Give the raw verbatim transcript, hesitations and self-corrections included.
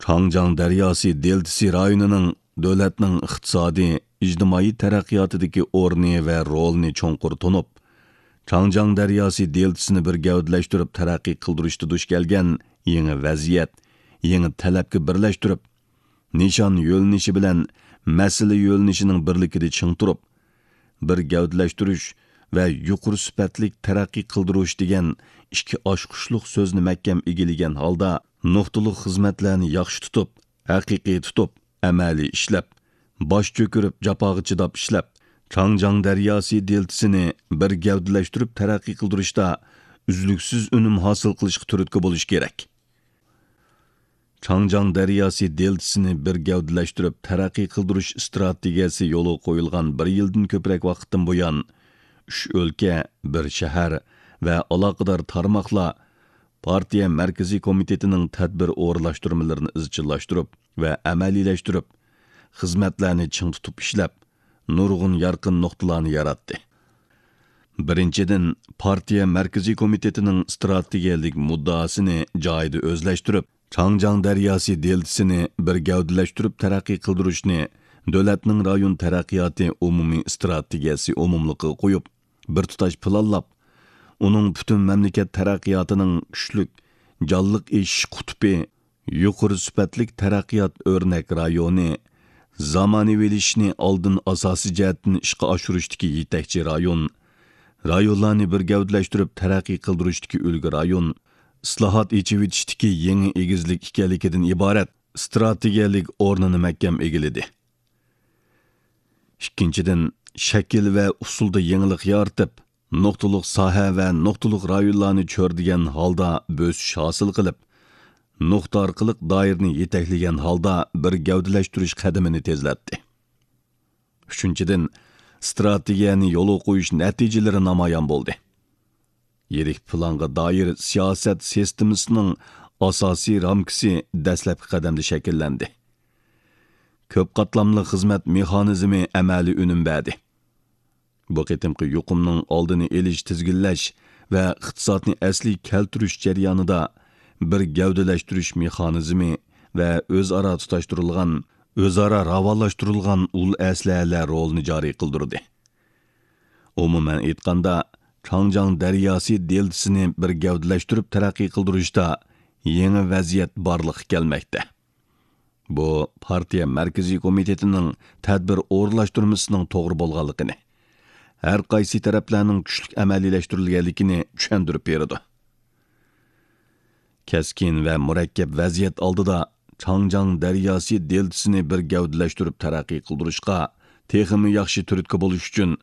چاڭجياڭ دەرياسى دېلتىسى رايونىنىڭ دۆلەتنىڭ ئىقتىسادىي، ئىجتىمائىي تەرەققىياتىدىكى ئورنى ۋە رولىنى چوڭقۇر تونۇپ، چاڭجياڭ دەرياسى دېلتىسىنى بىر گەۋدىلەشتۈرۈپ تەرەققىي قىلدۇرۇشتا دۇچ كەلگەن يېڭى ۋەزىيەت، يېڭى تەلەپكە بىرلەشتۈرۈپ، نىشان يۆنىلىشى بىلەن مەسىلە يۆنىلىشىنىڭ بىرلىكىدە چىڭ تۇرۇپ، بىر گەۋدىلەشتۈرۈش ۋە يۇقىرى سۈپەتلىك تەرەققىي قىلدۇرۇش دېگەن ئىككى ئاچقۇچلۇق سۆزنى مەھكەم ئىگىلىگەن ھالدا، نۇقتىلىق خىزمەتلەرنى ياخشى تۇتۇپ، ھەقىقىي تۇتۇپ، ئەمەلىي ئىشلەپ، باش چۆكۈرۈپ، جاپاغا چىداپ ئىشلەپ، چاڭجياڭ دەرياسى دېلتىسىنى بىر گەۋدىلەشتۈرۈپ تەرەققىي قىلدۇرۇشتا ئۈزلۈكسىز ئۈنۈم ھاسىل قىلىشقا تۈرتكە بولۇش كېرەك. چاڭجياڭ دەرياسى دېلتىسىنى بىر گەۋدىلەشتۈرۈپ تەرەققىي قىلدۇرۇش ئىستراتېگىيەسى يولغا قويۇلغان بىر يىلدىن كۆپرەك ۋاقىتتىن بۇيان، ئۈچ ئۆلكە، بىر شەھەر ۋە ئالاقىدار تارماقلار پارتىيە مەركىزىي كومىتېتىنىڭ تەدبىر ئورۇنلاشتۇرمىلىرىنى ئىزچىللاشتۇرۇپ ۋە ئەمەلىيلەشتۈرۈپ، خىزمەتلەرنى چىڭ تۇتۇپ ئىشلەپ، نۇرغۇن يارقىن نۇقتىلارنى ياراتتى. بىرىنچىدىن، پارتىيە مەركىزىي كومىتېتىنىڭ ئىستراتېگىيەلىك مۇددىئاسىنى جايىدا ئۆزلەشتۈرۈپ، چاڭجياڭ دەرياسى دېلتىسىنى بىر گەۋدىلەشتۈرۈپ تەرەققىي قىلدۇرۇشنى دۆلەتنىڭ رايون تەرەققىياتى ئومۇمىي ئىستراتېگىيەسى ئومۇملۇقىغا قويۇپ، بىر تۇتاش پىلانلاپ، ئۇنىڭ پۈتۈن مەملىكەت تەرەققىياتىنىڭ كۈچلۈك، جانلىق ئېشىش قۇتۇپى، يۇقىرى سۈپەتلىك تەرەققىيات ئۆرنەك رايونى، زامانىۋىلىشىشنى ئالدىن ئاساسىي جەھەتتىن ئىشقا ئاشۇرۇشتىكى يېتەكچى رايون، رايونلارنى بىر گەۋدىلەشتۈرۈپ تەرەققىي قىلدۇرۇشتىكى ئۈلگە رايون، ئىسلاھات، ئېچىۋېتىشتىكى يېڭى ئېگىزلىك ئىكەنلىكىدىن ئىبارەت ئىستراتېگىيەلىك ئورنىنى مەھكەم ئىگىلىدى. ئىككىنچىدىن، شەكىل ۋە ئۇسۇلدا يېڭىلىق يارىتىپ، نۇقتىلىق ساھە ۋە نۇقتىلىق رايونلارنى چۆرىدىگەن ھالدا بۆسۈش ھاسىل قىلىپ، نۇقتا ئارقىلىق دائىرىنى يېتەكلىگەن ھالدا بىر گەۋدىلەشتۈرۈش قەدىمىنى تېزلەتتى. ئۈچىنچىدىن، ئىستراتېگىيەنى يولغا قويۇش نەتىجىلىرى نامايان بولدى. يىرىك پىلانغا دائىر سىياسەت سىستېمىسىنىڭ ئاساسىي رامكىسى دەسلەپكى قەدەمدە شەكىللەندى. كۆپ قاتلاملىق خىزمەت مېخانىزمى ئەمەلىي ئۈنۈم بەردى. بۇ قېتىمقى يۇقۇمنىڭ ئالدىنى ئېلىش، تىزگىنلەش ۋە ئىقتىسادنى ئەسلىگە كەلتۈرۈش جەريانىدا بىر گەۋدىلەشتۈرۈش مېخانىزمى ۋە ئۆزئارا تۇتاشتۇرۇلغان، ئۆزئارا راۋانلاشتۇرۇلغان ئۇل ئەسلىھەلەر رولىنى جارى قىلدۇردى. ئومۇمەن ئېيتقاندا، چاڭجياڭ دەرياسى دېلتىسىنى بىر گەۋدىلەشتۈرۈپ تەرەققىي قىلدۇرۇشتا يېڭى ۋەزىيەت بارلىققا كەلمەكتە. بۇ پارتىيە مەركىزىي كومىتېتىنىڭ تەدبىر ئورۇنلاشتۇرمىسىنىڭ توغرا بولغانلىقىنى، ھەر قايسى تەرەپلەرنىڭ كۈچلۈك ئەمەلىيلەشتۈرۈلگەنلىكىنى چۈشەندۈرۈپ بېرىدۇ. كەسكىن ۋە مۇرەككەپ ۋەزىيەت ئالدىدا چاڭجياڭ دەرياسى دېلتىسىنى بىر گەۋدىلەشتۈرۈپ تەرەققىي قىلدۇرۇشقا تېخىمۇ ياخشى تۈرتكە بولۇش ئۈچۈن،